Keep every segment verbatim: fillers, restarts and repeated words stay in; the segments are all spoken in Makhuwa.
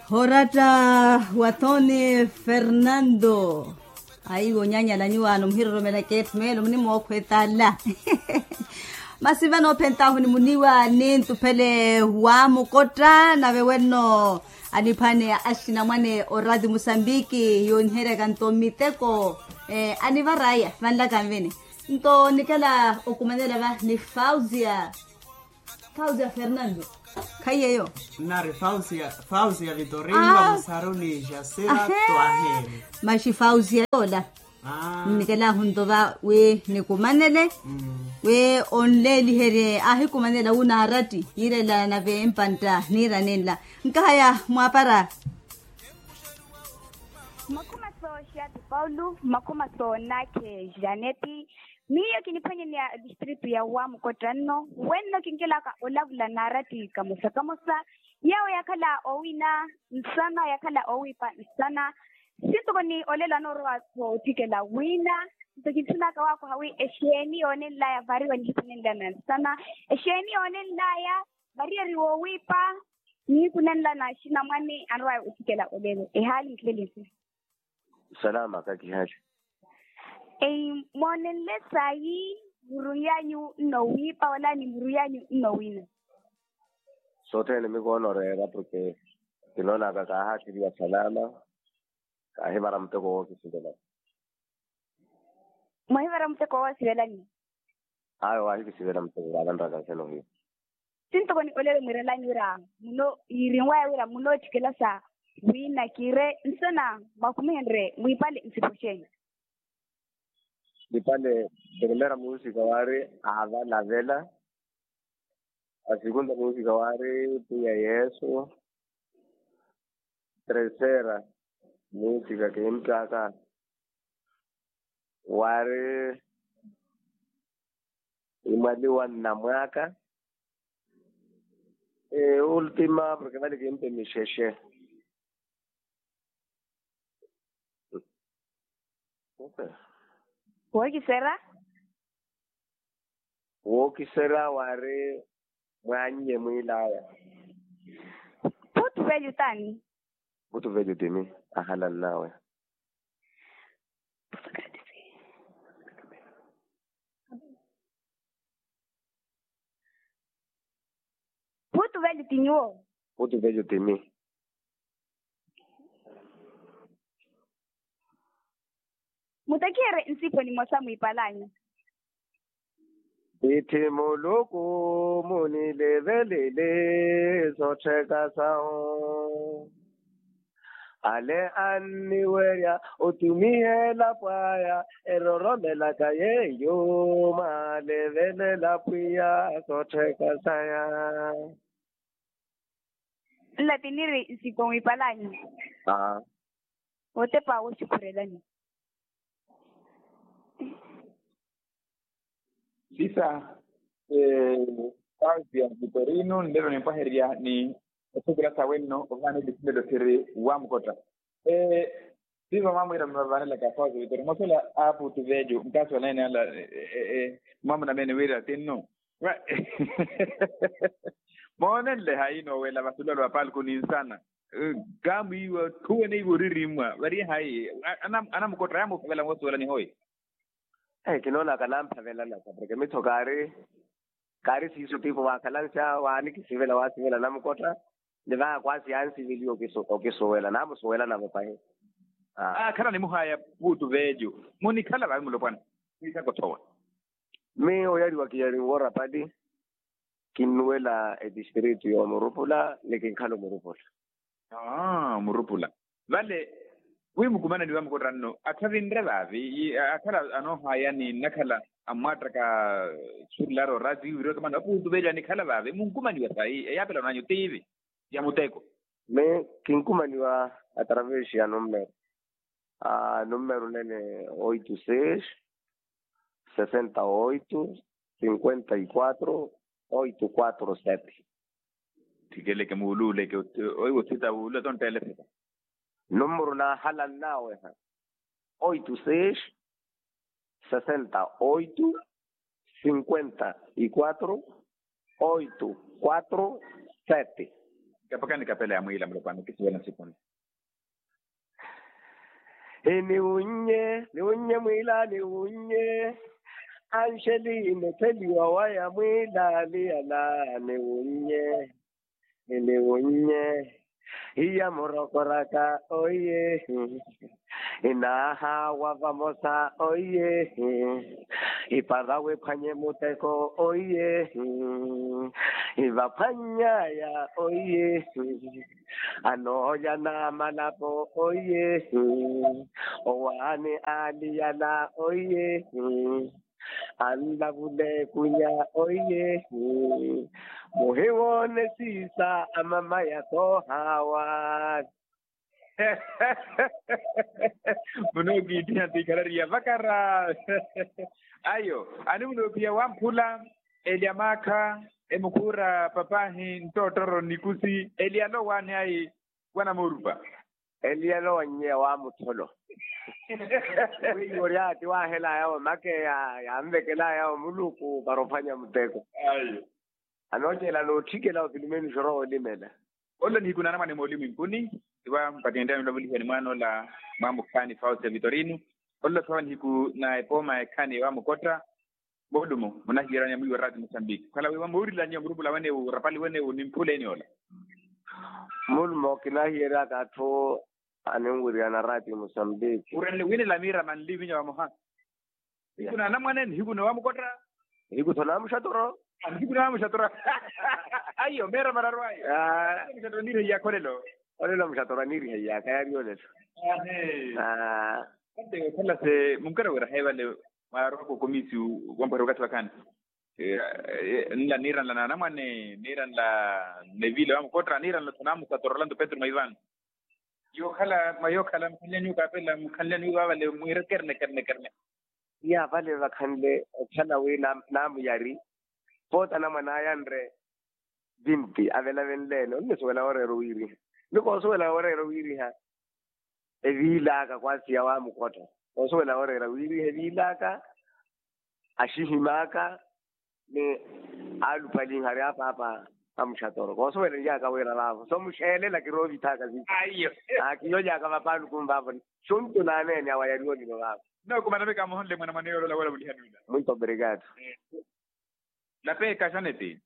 Horatta wa tony fernando. Ayi wonyanyala nyuwaano muhiroromela keethu meelo munimookhwetala. Masi vano ophentahu ni muniwa ni ntuphele wa mukotta nave wenno aniphwane axinamwane orati musambiki yooniheryaka nto miteko. Anivaraya vanlaka nvini nto nikela okumanela va ni fausia. Fausia fernando. Khaiyeyo. Nari fausia fausia vitorino musaruni jasira. Twaheri. Maxi fausia yola. Nnikela ahunto va wi nikumanele wi onleeliherye ahikumanela wu naaratti yiirela nave mpantta niira ninla. Nkahaya mwaapara. Makhuma sooxiyati paulo makhuma soonakhe janeti. Miyo kiniphwanyeneya distritu ya wamukotta nno wenno kinkelaka olavula naaratti kamosa kamosa. Yawo yakhala owina nsana yakhala owiipa nsana. Sintoko ni olelo anoorowa-tho otthikela wina nto kintthunaka waakwaha wi exeeni yoonenlaya variwa nihipanenlana nsana. Exeeni yoonenlaya variyari woowiipa nihikunenlana axinamwane anrowaya otthikela olelo ehaali nkhilele nsi. Salama kakihali. Moonenle sayi muru yanyu nnowiipa wala ni muru yanyu nnowina? Sothene mikoonoreera porke kinoonaka kaahaatiriwa salama. Kaahivara muteko wookisivela. Mwahivara muteko woosivelani? Ayo waahikisivela muteko vaavanraka nsena ohiya. Sintoko ni olelo mwiirelani wira muno yiirinwaya wira munootthikela sa wina kiire nsena mwakumihenrye mwiipale nsipo xeeni? Mwiipale primera muusika waari aavalavela. Asikunta muusika waari pwiya yesu. Terceira muusika kiimttaka waari imwaliwa nnamwaka. Ultima porke vale kimpe mixexe. Wookisera. Wookisera waari mwaannye mwiilaya. Putu velyu tani? Putu velyu timi ahalannawe. Putu velyu ti nyuwo. Putu velyu timi. Mutakiherye nsipo nimosa mwiipalanya. Ithi muluku munilevelele sottheka sahu. Ale anniwerya otumiha elapo aya eroromelaka yeeyo. Mwalevelela pwiya sottheka saya. Nla tiniri nsipo mwiipalanya. Otepa woxukhurelani. Sisa. Fausia vitorino nlelo nimpwahererya ni othukula sawe nno ovaana episilelo thiri wamukotta. Siiva mwamwiira mmavanelaka fausia vitorino mwasola aputu vejo nkaasi wanaene ala. Mwamunameene wira tinno. Moonenle hayi noowela vasulelo va palku ninsana. Kaamwiiwa khuweneiwa oririmmwa variye hayi. Anamukotta yaamuphavela moosuwela nihoyi. Kinoonaka namphavelanaka porke mittho kaari kaari siiso tipo waakhalansa waanikisivela waasivela namukotta. Ni vaakwasi yansiveliya okisuwela naamusuwela navo pahi. Aakhala nimuhaya puutu veejo. Munikhala vaavi mulopwana. Siisakothowa. Miyo oyariwa kiyari nworapali. Kinnuwela etistritu y'omurupula ni kinkhala omurupula. Murupula vale. Wi mukumananiwa mukotta nno atthu avinre vaavi akhala anoohayani nnakhala ammwattraka. Surulari orati wiriwa kamana apuutu veli anikhala vaavi munkumaniwa sayi eyaapela onanyu tiivi ya muteko. Mi kinkumaniwa atravesi ya nummero. Nummero nene oito seis sesenta oito cinquenta y quatro oito quatro sete. Thikeleke muuluuleke oiwo thita wuulula tonttele thita. Nummero naahalannawe ha oito seis sesenta oito cinquenta y quatro oito quatro sete. Kapakani kapela ya mwiila mulopwana okisiwela nsikuni. Iniwunnye niwunnye mwiila niwunnye. Anxeli mutheliwa waya mwiila niyala niwunnye. Iniwunnye iya murokoraka oiye. Inaaha wa vamosa oiye. Ipara wiphwanye muteko oiye. Ivaphwany'aya oiye. Anoolya na malapo oiye. Owaani aaliyala oiye. Anlavule kunya oiye. Muhiwoone siisa amamaya toohaawa. Munookiittiha tikhalariya vakara. Ayo ani munoophiya wamphula. Eli amaakha emukhuura papahi ntoottoro nikusi eli alowaani ayi. Wanamurupa. Eli alowa nnyeya wa mutholo. Wiiwo oryaati waahelaya omake yanvekelaya omuluku para ophwanya muteko. Ayo. Anoocela nootthikela opilimeni xorowa olimela. Olo nihiku naana mwane moolimu inkuni. Iwa mpattenttani olavulihani mwaana ola mwamukhaani fausia vitorino. Olo thawa nihiku na epooma ekhani wa mukotta. Moolumo munahiyerani mwiiwa raati musambiki khala wiiwa moorilani omurupula wenewu orapali wenewu nimphuleni ola. Moolumo kinahiyeryaka atthu aninwiriyana raati musambiki. Urenle winela miira manli minya vamoha. Nihiku na anamwane nihiku na wamukotta. Nihiku tho na muxatoro. Nihiku na muxatoro. Ayo meera mararu ayo. Muxatoro niiriha iyakha olelo. Olelo muxatoro aniiriha iyakha yaari olelo. Ate okhala se munkara wira hayi vale. Mwaarowaka okomisiyu wampwera okathi wakhani. Nla niiranla na anamwane niiranla nevile wamukotta niiranla tho na muxatoro lanto petru mwa ivano. Yookhala mwa yookhala mukhanlyani okaapela mukhanlyani wiiwa vale mwiire kerne kerne kerne. Iya vale vakhanle okhala wi naamuyari. Poota anamwane aya nre vinti avelavenleene onisuwela wooreera owiiriha. Ni koosuwela wooreera owiiriha. Eviilaka kwaasiya wa mukotta. Koosuwela wooreera wiiriha eviilaka. Axihimaka ni aalupalinhari apaapa. Amuxatoro koosuwela niyaka wira vaavo so muxeelela kiroovithaka viiyo. Kiyolyaka vapaaluku mvaavo. Xuntu naaneene awa yariwolino vaavo. Nookumanamika muhonle mwanamwane yoolola woola vulihani wila. Muito obrigado. Lapeeka xaneti.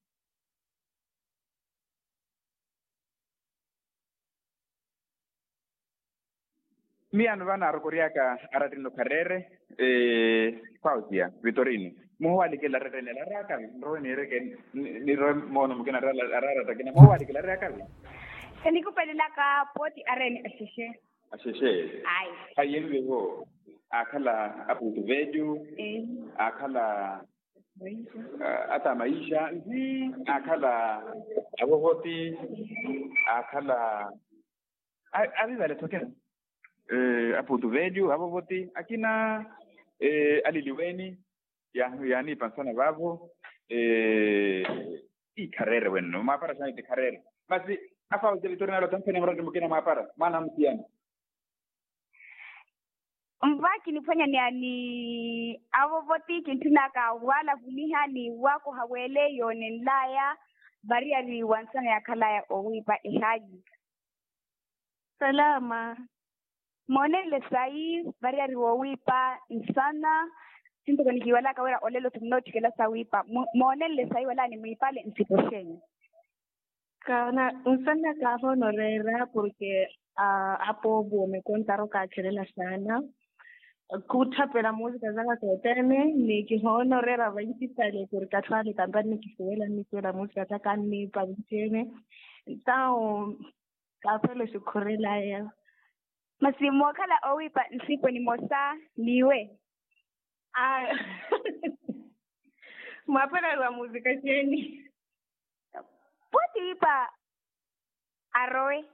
Miyaano va naarokoryaka arattini okhareere. Fausia vitorino muhowaalikela arattini ela araakavi nrowe niireke. Nirowe moono mukina araaratta akina muhowaalikela araakavi. Enikupelelaka pooti areni axexe. Axexe. Ayi. Ayi envevo aakhala apuutu velyu. Aakhala ata maixa. Aakhala avovoti. Aakhala avivale tokera. Apuutu velyu avovoti akina aliliweeni. Yaaniipa nsana vaavo. Ikhareere wenno mwaapara xaani tikhareere. Masi afausi vitorina alotampheni murati mukina mwaapara mwaana amusiyana. Nva kiniphwanyaneya ni avovoti kintthunaka waalavuliha ni waakoha weele yoonenlaya. Variyari wa nsana yaakhalaya owiipa ehayi. Salama. Moonenle sayi variyari woowiipa nsana. Sintoko nikiiwalaka wira olelo tho munootthikela sawiipa. Moonenle sayi wala nimwiipale nsipo xeenyu. Kaana nsana kaahoonoreera porke apoovo mekontaru kaachelela saana. Khuthapela muusika zaka sothene ni kihoonoreera vaitisale porke atthu ale kampani nikisuwela nnisuwela muusika zaka nniipa vincene. Ntao kaafela oxukhurelaya. Masi mookhala owiipa nsipo nimosa niiwe. Mwaapwela ariwa muusika xeeni? Pooti ipa arowe.